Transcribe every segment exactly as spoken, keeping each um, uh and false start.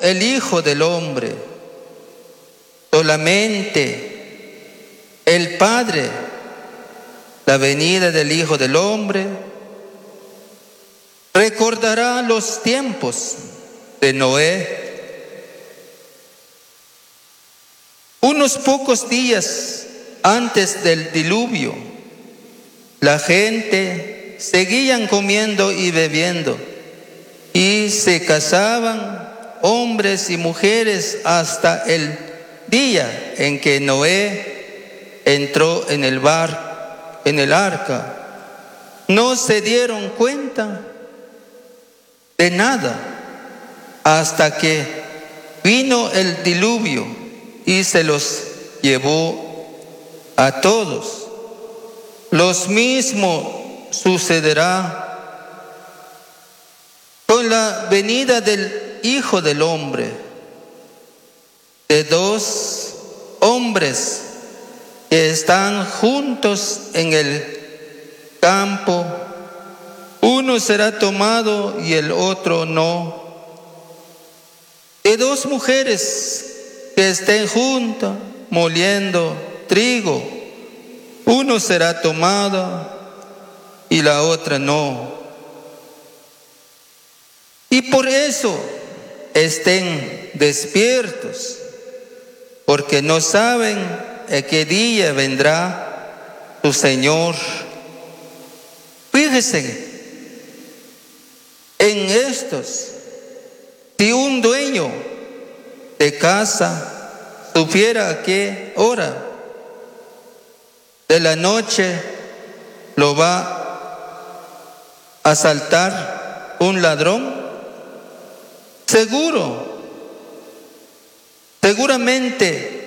el Hijo del Hombre. Solamente el Padre, la venida del Hijo del Hombre, recordará los tiempos de Noé. Unos pocos días antes del diluvio, la gente seguían comiendo y bebiendo, y se casaban hombres y mujeres hasta el día en que Noé entró en el bar, en el arca. No se dieron cuenta de nada hasta que vino el diluvio y se los llevó a todos. Lo mismo sucederá con la venida del Hijo del Hombre. De dos hombres que están juntos en el campo, uno será tomado y el otro no. De dos mujeres que estén juntas moliendo trigo, uno será tomado y la otra no. Y por eso estén despiertos, porque no saben en qué día vendrá su Señor. Fíjense en estos: si un dueño de casa supiera a qué hora de la noche lo va a asaltar un ladrón, seguro, seguramente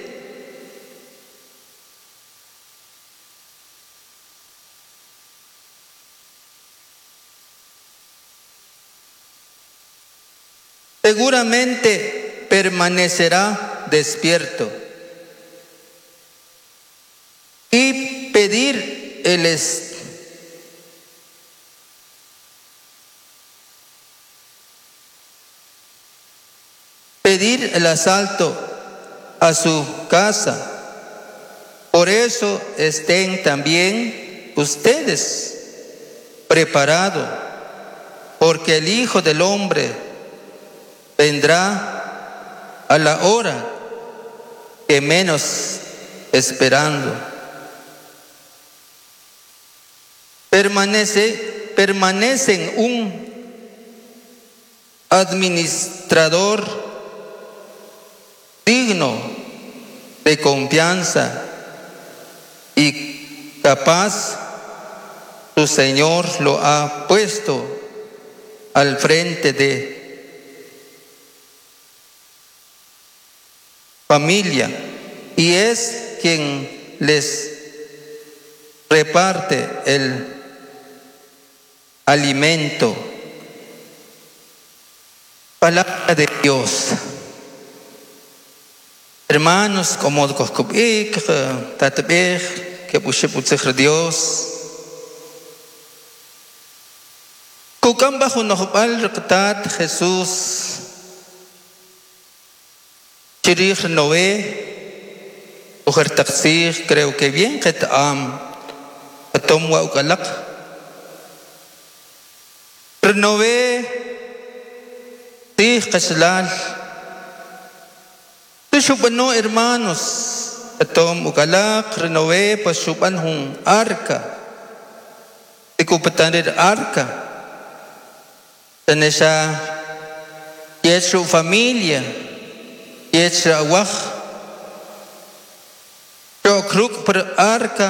seguramente permanecerá despierto y pedir el es, pedir el asalto a su casa. Por eso estén también ustedes preparados, porque el Hijo del Hombre vendrá a la hora que menos esperando. Permanece, permanecen un administrador digno de confianza y capaz. Su Señor lo ha puesto al frente de familia y es quien les reparte el alimento. Palabra de Dios. Hermanos, como que Dios. Kukam bajo nojbal rqtat Jesús chirij Noé ujer taqsij, creo que bien que am atom wa ukalaq Noé tij qashlal tushubano hermanos atom ukalaq Noé pashuban hun arca tikupatanir arca Tanesha su familia, yesu awaj, chokruk per arca,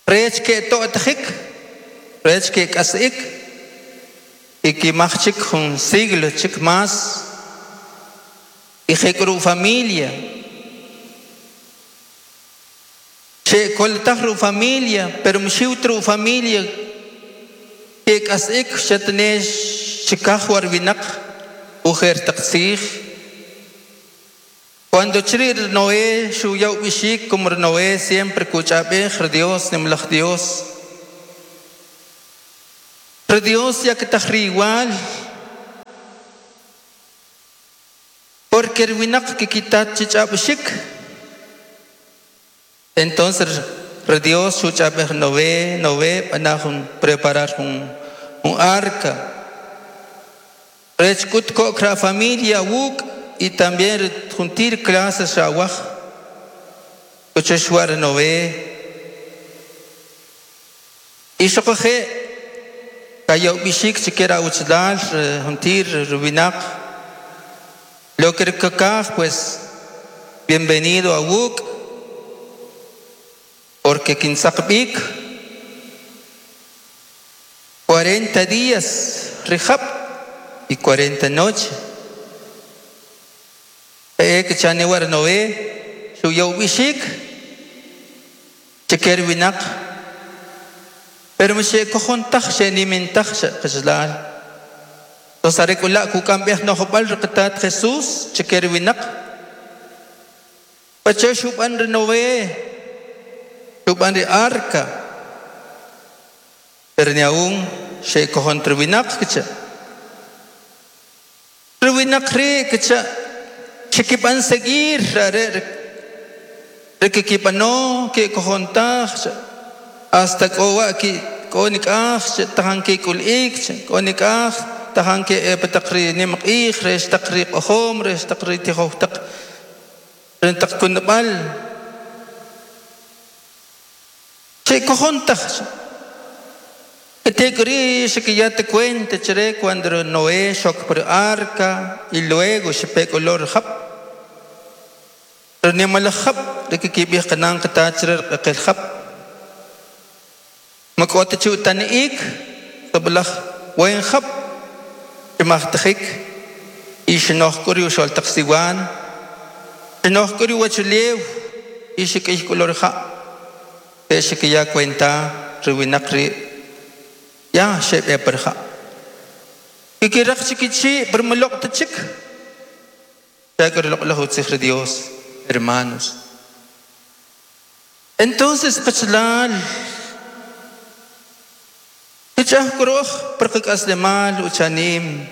rech ke to'tjik, rech ke kasik, y que machik un siglo chik más, y jekru familia, che koltajru familia, pero mshiutru familia. Kek asik shatnesh chikah warwinak ujer taqsij. Cuando chrir Noé shuyau bishik como Noé siempre kuchabej Dios nimlach Dios. Dios ya que tajri igual. Porque el winak kikitat chich'ab'xik. Entonces Dios xuch'ab'ej Noé, Noé b'anaj jun preparar jun un arca. Rech k'ut ko'k ra familia wuk y también juntir clases rawaj. Kuchexwar Noé. Y xoqoje kayob'ixik chikera uchlal juntir rubinak. Lo que kakaj pues bienvenido a wuk porque kinsaqb'ik cuarenta días rijab y cuarenta noches. Eh que chanewar Noé xuyob'ixik chiker winak pero mxe kojontaj xe nimintaj xe qachlal. Entonces arekula kukamb'ej nojb'al riqatat Jesús chiker winak pache xub'an ri Noé xub'an ri arca pero ni aún xe kojon triwinak kicha triwinak ri kicha xikib'an seguir are rikikib'ano ke kojontaj hasta k'owa ki k'onik'aj tajan ke k'ul'ik k'onik'aj tajan ke pataqri nimq'ij rex taqri q'ojom rex taqri tijoj taq rentaq kunb'al che kojontaj te que ya te cuente chere cuando Noé xok por arca y luego se pegó olor jab pero ni mal jab de que kibij kanan katachre el jab makota chutan ik tablaj wen jab imachtajik y xnoch kuri uxol taqsiwan xnoch kuri wachulew y xik'ij color ja te que ya cuenta riwinaqri ya xeb'e perja y kiraq chikichi pero maloq tachik ya Dios hermanos. Entonces qachlal kichaj kuroj perqak aslemal uchanim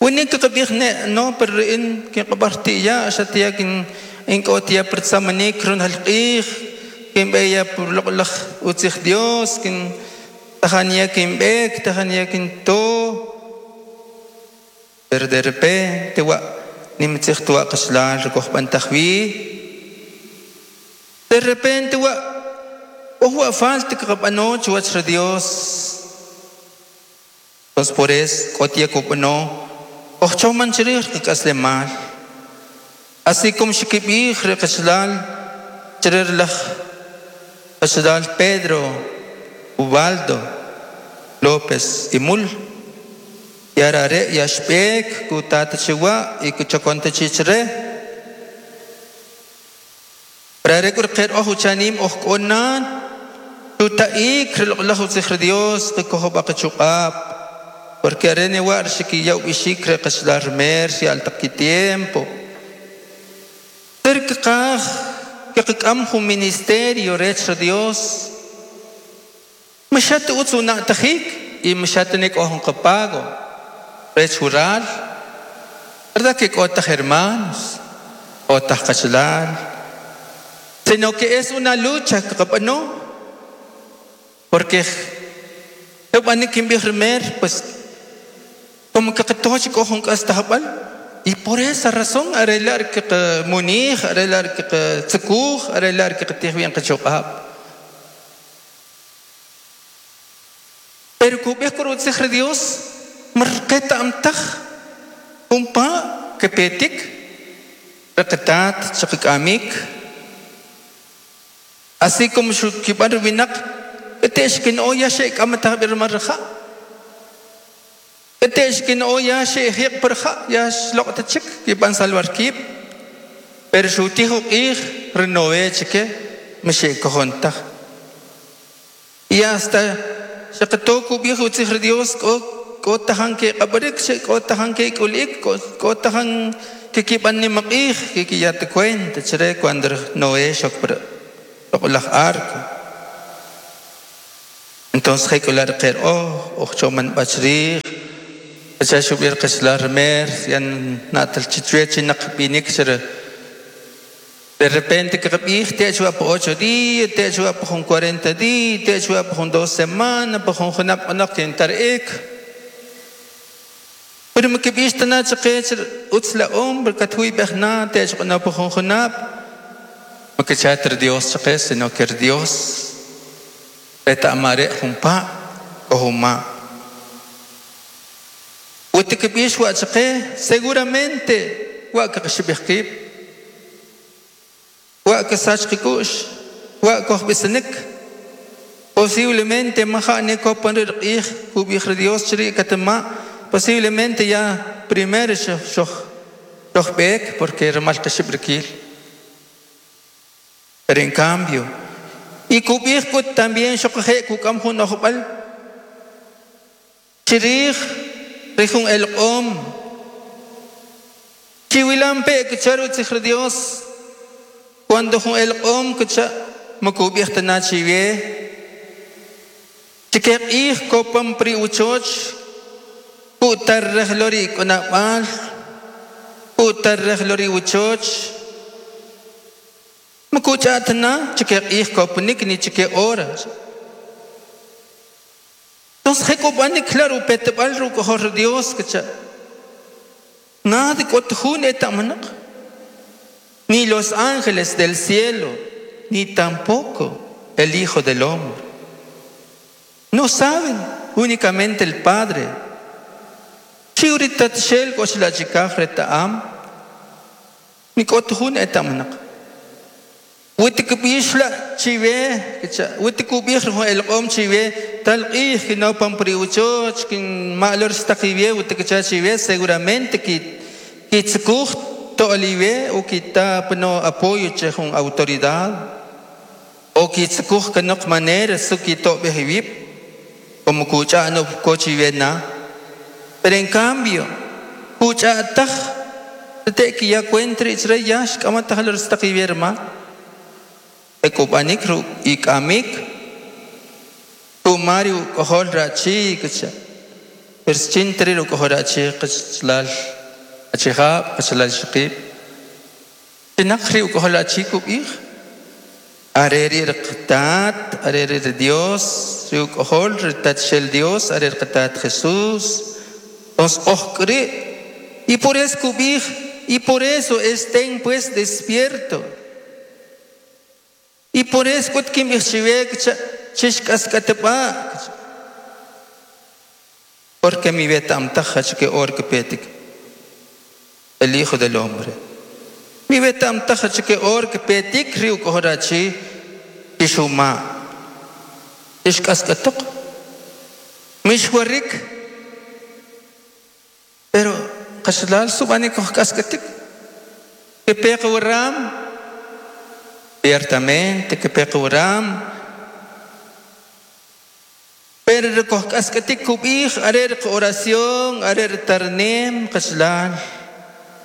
winik qabij ne no pero in kinqabarti ya xatiya kin in k'otiya pertzamanik run halq'ij kin b'eya por loq'laj utzij Dios kin tajaniya kin b'ek tajaniya kin to pero de repente wa nimtzij tuwa qachlal rikoj b'antajwi de repente wa ojo falta que qab'ano chuwach ra Dios. Entonces por eso k'otiya kub'ano ojchoman chirij qak'aslemal así como xikib'ij ri qachlal chirij qachlal Pedro Ubaldo López Imul yarare yaxb'ek kutata chiwa y kuchokonta chichre prare kurqer oj uchanim oj k'onan tutaik riloq'laj utzij ri Dios qikojob'a qichuq'ab porque arene war xikiyaw b'ixik re qachlal mer si al taq tiempo terkqaj qik'am jun ministerio rech ri Dios mxat utz una'tajik y mxat nik oj qapago rech rural verdad que k'otaj hermanos k'otaj qachlal sino que es una lucha qaqab'ano porque pues como que y por esa razón arreglar que munij arreglar que tzukuj arreglar que tijbien que choqab pero kubej por Dios marqeta amtaj umpa que petik raqatat chaqamik así como xukibar winak ketexkin oya shek amatah birmarja ketexkin oya shek perja ya shloqtachik kiban salvar kip pero xutijo ij renové chike mshek kojontaj y hasta shaqtoku viejo utzij Dios kotajan que qabarik kotajan que kulik kotajan que kiban ni maqij que ya te cuenta chere cuando Noé shok laj arco. Entonces hay que hablar oh, ocho man bachrij, Pacha xub'ir qach'alal Mer yan na'tal chichwe chinaq b'inik xer de repente kqab'ij te chuwa pa ocho días, te chuwa pa jun cuarenta días, te chuwa pa jun dos semanas, pa jun junab' q'anoq kintar'ik. Pero mikib'ix tana chaqe utz la hombre katwib'ej na te q'anoq pa jun junab'. Makichat Dios chaqe, sino que Dios reta'mare jun pa o jun ma. Utikib'ix wa chaqe seguramente wa kaqxib'ij qib', wa kasach qik'u'x, wa kojb'isanik. Posiblemente maja' kopan ri q'ij kub'ij Dios chiri' katma', posiblemente ya primero xoj xojb'ek porque rimal qxib' rikil. Pero en cambio y kub'ij kut también xoqje' kuk'am jun ojb'al chirij rijun el q'om chiwilampe kichar utzij Dios cuando jun el q'om kicha makub'ij tana chiwe chike q'ij kopam pri uchoch kutarrej lori k'unab'al kutarrej lori uchoch makuch'atna chike q'ij kopanik ni chike hora. Entonces jekub'anik claro petb'al ruk'ojor Dios kicha nada k'ot jun eta'manaq, ni los ángeles del cielo, ni tampoco el Hijo del Hombre. No saben, únicamente el Padre. Chiuritat shel k'oxlachikaj reta'am ni k'ot jun eta'manaq. Witikb'ix la chiwe kicha witikub'ij jun el q'om chiwe tal q'ij kinopam pri uchoch kin ma'lor staqiwe witikicha chiwe seguramente ki kitzkuj to'liwe o kita pno apoyo che jun autoridad o kitzkuj kanok manera su kito'b'ej como kuch'a no kochiwe na. Pero en cambio kuch'a taj te ki ya cuentre ichre ya xk'amataj lor staqiwe rma ekub'anik ru ik'amik tumari uk'ojol rachi kicha perschintri uk'ojol rachi qachlal achijab' qachlal xiqib' tinaq ri uk'ojol rachi kub'ij are ri rqatat are ri Dios ri uk'ojol ri tatxel Dios are rqatat Jesús. Entonces ojkri y por eso kub'ij y por eso estén pues despierto. Y por eso kut kim ixchiwe kicha chixk'ask'atb'a porque mi beta amtaja que or que petik el Hijo del Hombre. Mi beta amtaja que or que petik riu kohorachi tishuma tixk'ask'atoq mixwarik. Pero qachlal sub'anik kojk'ask'atik que peqwaram ciertamente que peqwaram pero kojk'ask'atik kub'ij are oración are tarnem qachlal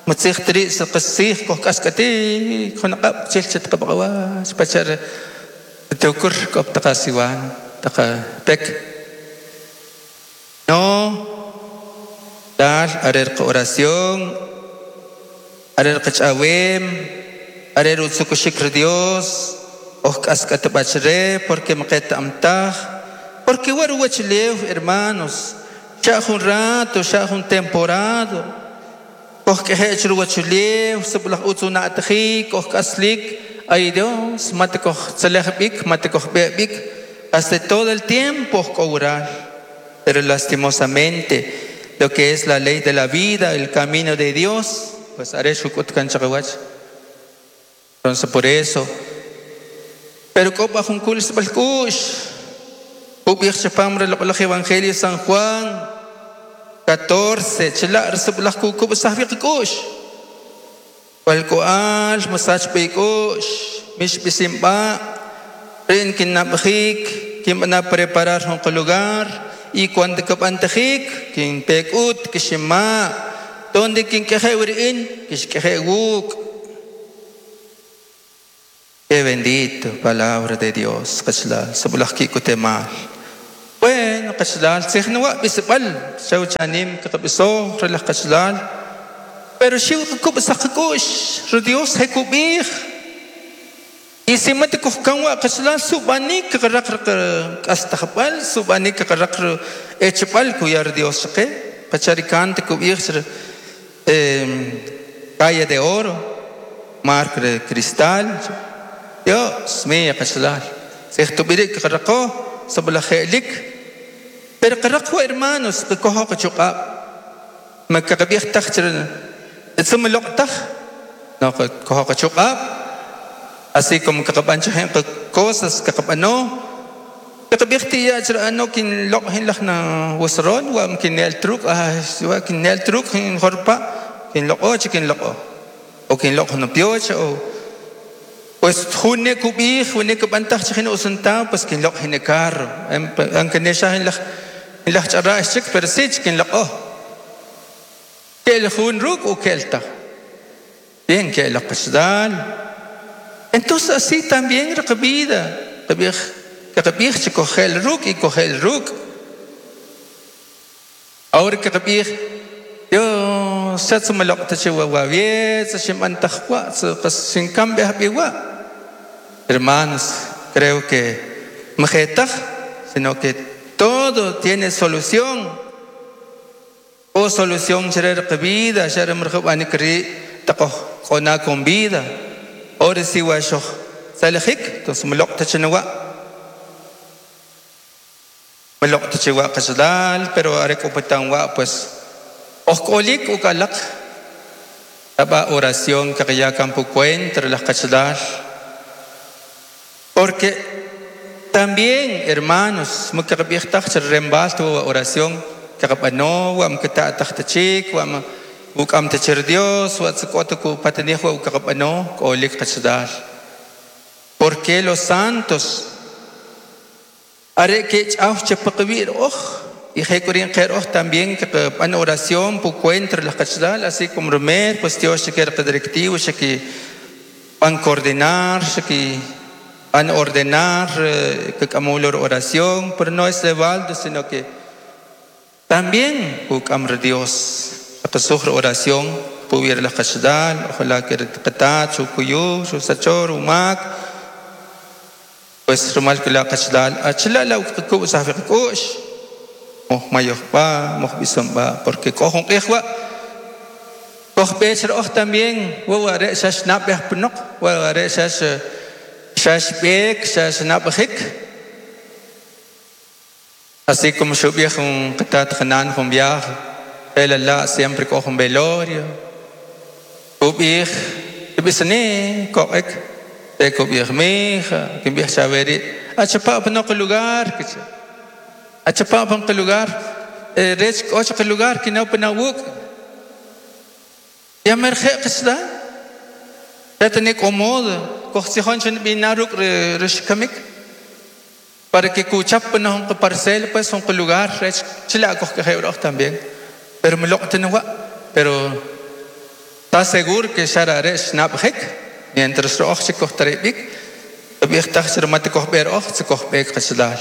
matzij tri qasij kojk'ask'atik junaq'ab' chil chetqab'aq'awach pachar tukur k'op taqasiwan taqapek no dal are oración are qach'awem are utzukuxik Dios ojk'ask'atb'achre porque maqet amtaj porque war wachlew hermanos xa jun rato xa jun temporado ojk'ejech ruwachulew sublaj utzuna'tjik ojk'aslik ay Dios mate koj tzalejb'ik mate koj b'eb'ik hasta todo el tiempo ojk'owral. Pero lastimosamente lo que es la ley de la vida, el camino de Dios, pues are xuk'ut kan chaqawach. Entonces por eso pero k'o jun kul sib'alk'u'x ub'ij chapam ri Evangelio San Juan catorce chila' risib'laj kukub' sajb'iq k'u'x walk'u'al masach b'ik'u'x mixb'isinb'a' rin kinnab'jik kinb'ana preparar jun lugar y cuando kb'antajik kinpek'ut kixima' donde kink'eje' wri'in kixk'eje' wuk'. Qué bendito palabra de Dios, qachlal, sub'laj kikutemal. Bueno, qachalal tzijnwa bisbal shawchanim kaqbiso relaj qachalal pero xiw qkub saqkush ru Dios hekubij y si mat kuhkanwa qachalal subanik qraq qastajbal subanik qraq echbal kuyar Dios chqe qacharikan kubij calle de oro mar de cristal Dios mío qachalal tzijtubirik qraqo sablajelik pero qraqo hermanos qkojo qchuqab ma qaqbij taj tsum loqtaj no qkojo qchuqab así como qaqban chajen cosas qaqbano qaqbij tiya ano kin loq hin lajna wasron wa kin el truc wa kin el truc hin jorpa kin loqo kin loqo o kin loq no piocha o pues june kubij june kubantaj chajen usanta pues kin loq hin carro aunque nesha hin laj hin laj ch'arra chik pero sí kin loqo kel jun ruk o kelta bien que la qasdal. Entonces así también vida qabij chikojel ruk y kojel ruk ahora que qabij Dios satsumalaqta chiwawawiet shimbantajwa sin cambio biwa. Hermanos, creo que majetaj, sino que todo tiene solución. O solución ser vida, ser mrjub anikri taqoj con vida. Ahora sí washo salajik, entonces maloqta chinawa. Maloqta chiwa qasdal, pero arek upatanwa pues ojkolik ukalak taba oración que ya campo cuentra las qasdal. Porque también, hermanos, mukaqbij rembal tu oración kaqbano wa mkata tahtachik wa ukam tachir Dios wa tskotuku patanij wa ukaqbano kolik qasdal. Porque los santos are que ch'aw chapaqbir oj y jekurin qer oj también que pan oración pu cuentra las qasdal, así como Romer pues Dios se quiere directivo se que van coordinar se que van ordenar que camulor oración, pero no es de balde, sino que también ukam Dios que sufre oración puviera la qasdal, ojalá que qatat su kuyu su sachor umak pues rumal que la qasdal achla la ku safiq kush moj mayohpa moj bisomba porque cojon qihwa koj becher oj también wa re shash nabeh pnoq wa re shash shash bek shash nabhik así como shubih un qatat khanan jun viaje el la siempre cojo un velorio ubih bisne koek te kubih mija que viaja chaveri achapa pnoq lugar achapa pnoq lugar rech ocho lugar que no pnawuk ya merje qasda tatnik omod koxsijon chen binaruk rishkamik para que kuchap pnoq parcel pues un lugar rech chila koj que también pero me lo tengo pero está seguro que shara snap hek mientras roch se koxtarebik bih taxer mat kox ber och se kox bek qasdal.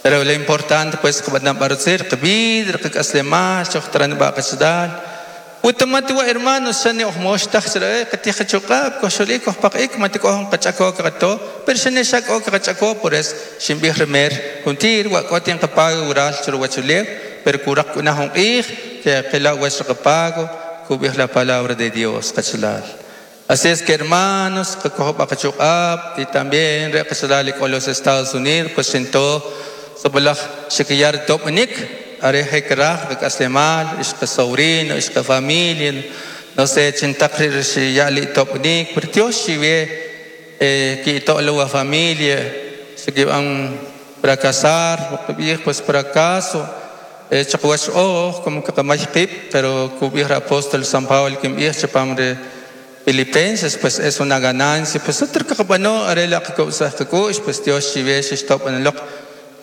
Pero lo importante pues que van a parecer que vidr que aslema choxtran ba qasdal utamati wa hermanos shani och mosh taxer qati khchuqab koxolik kox paqik mat kox qachako qato pero shani shak ok qachako por es shimbih remer juntir wa qotin qapago ural churwachule pero kurak una ij que qila wa qapago kubih la palabra de Dios qachlal. Así es que hermanos y también con los Estados Unidos pues sentó sobalaj shikiyar topnik areje kraj kaslemal ishqa sobrino ishqa familia no sé chintaqrir shiyali topnik pero Dios shive que toda la familia se que van fracasar pues fracaso chaqwash oh como que qamashqib pero kubih apóstol San Pablo que mbih chapamre Filipenses pues es una ganancia pues otro que bueno arela que pues Dios shive stop en lok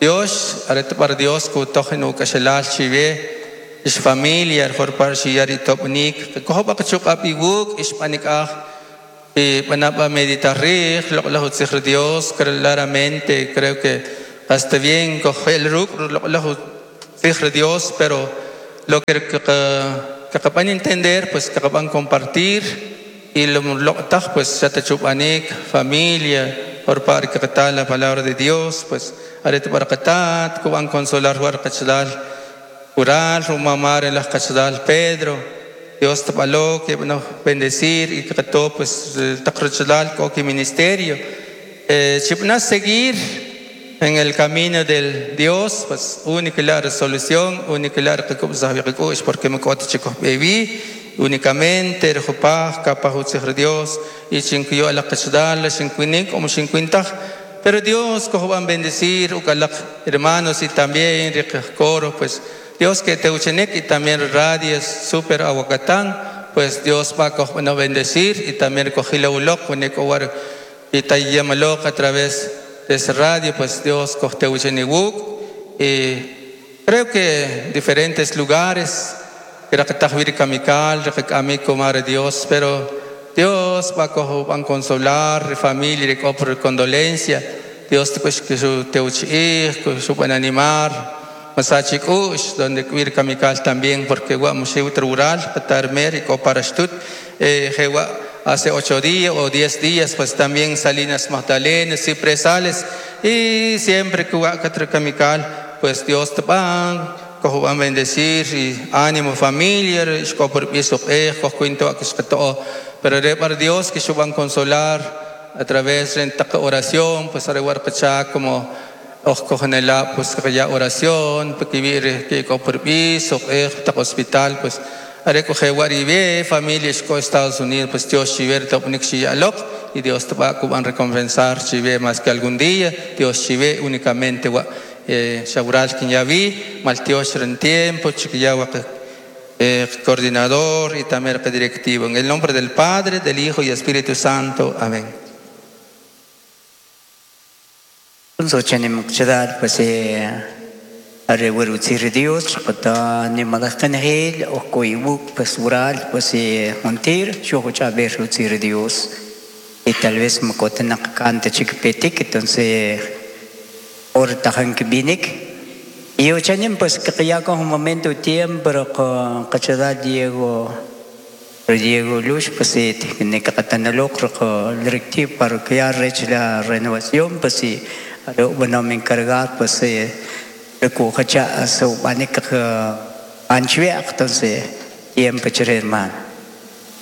Dios arete para Dios ku tojen u kashelal shive is familia por shiyari topnik ko ba kachuk apiwuk ispanik ah y panapa meditar lo lo Dios claramente creo que hasta bien coge el ruk lo lo de Dios, pero lo que que van a entender, pues que van a compartir y lo pues ya te chupanik, familia, por par que tal la palabra de Dios, pues arete barakatat, kuban consolar warkachdal, curar, rumamar en las cachdal Pedro, Dios te baló que nos bendecir y que todo pues tacrochdal coqui ministerio, eh, chipna seguir en el camino del Dios, pues única la resolución, única la porque me chico baby, únicamente el jopaj, capaz de Dios, y chincuyo a la cachdal, chincuinic, como chincuintaj, pero Dios cojo van bendecir, ucalac hermanos y también coro, pues Dios que te uchenek y también radios super aguacatán, pues Dios va a bendecir y también cogila ulok, y tayamalok a través de ese radio, pues Dios coge y creo que diferentes lugares, Dios, pero Dios va a consolar familia por condolencia, Dios pues que su te su van animar, Masachikush, donde cuir kamikal también, porque rural, y coparashtut, hace ocho días o diez días, pues también Salinas Magdalena, Cipresales, y siempre que kamikal, pues Dios te va a bendecir y ánimo familia, pero para Dios que se van a consolar a través de la oración, pues como pues que oración, que hospital, pues familia Estados Unidos, pues Dios y Dios te va a recompensar más que algún día, Dios chive únicamente Shaural quien ya vi, Maltiosh en tiempo, Chiquillawa coordinador y también directivo. En el nombre del Padre, del Hijo y Espíritu Santo. Amén. Pues Dios, pues Dios. Y tal vez me entonces y pues que ya con un momento tiempo con Diego Diego Luz pues tiene que directivo para que ya la renovación pues sí bueno me encargar pues recoja su entonces tiempo hermano.